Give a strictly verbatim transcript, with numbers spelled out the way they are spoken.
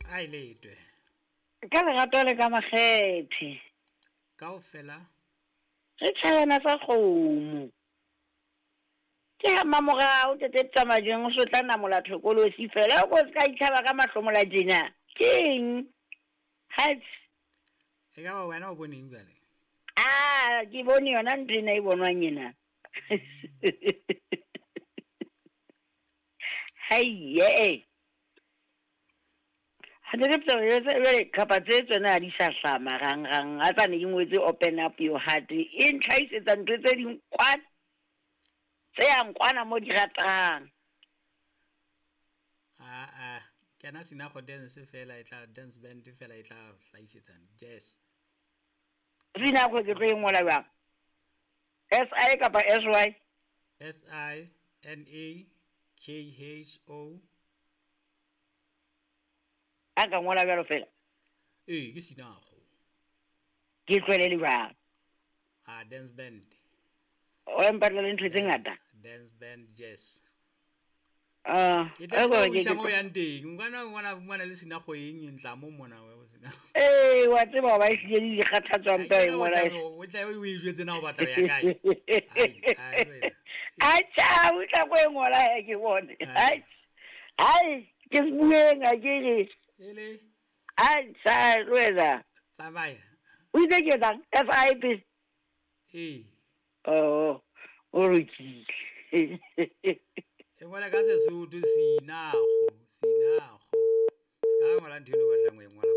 A e letwe. Ka lerato le ka makgethe. Kaofela. Re tjhayana sa kgomo. Ke ha mamorao tete tsamajeng o so tla namola thokolosi fela o ko se ka itlhaba ka mahlomola tjena. Keng? Hatsi. E ka ba wena o boneng jwale? Ah, ke bone yona ntho ena e bonwang ena. Hai ye. Ha ne ke tsebe kapa tse tsona ha di sa hlaha marangrang a tsane ke ngwetse open up your heart e ntlhahisetsa ntho tse ding kwana tse yang kwana mo di ratang. Ah ah, kena Sinakho dance fela e tla dance band fela e tla hlahisetsa jazz. Sinakho ke tlo e ngola jwang? S I kapa S Y? S I N A K H O. A ka ngola bjalo fela? Ee, ke Sinakho. Ke tlohele le jwang? Ah, dance band. O mpatla le ntho tse ngata? Dance band jazz. Ah, E tla o isa mo yang teng. Ngwana ngwana ngwana le Sinakho eng e ntla mo mona we Sinakho. Eh, wa tseba ba ehlile di kgathatswa mpa e ngola. O tla o e jwetse na o batla ya kae? Ai, ai wena. Acha, o tla go e ngola he ke bone. Ai. Ai, ke bueng a ke re. Ele. Ai, sa wena. Tsamaya. O itse ke etsang? F I P. Ee. Oh, o lokile. E ngola ka Sesotho Sinakho, Sinakho. Se ka ngola ntho eno o batlang ho e ngola.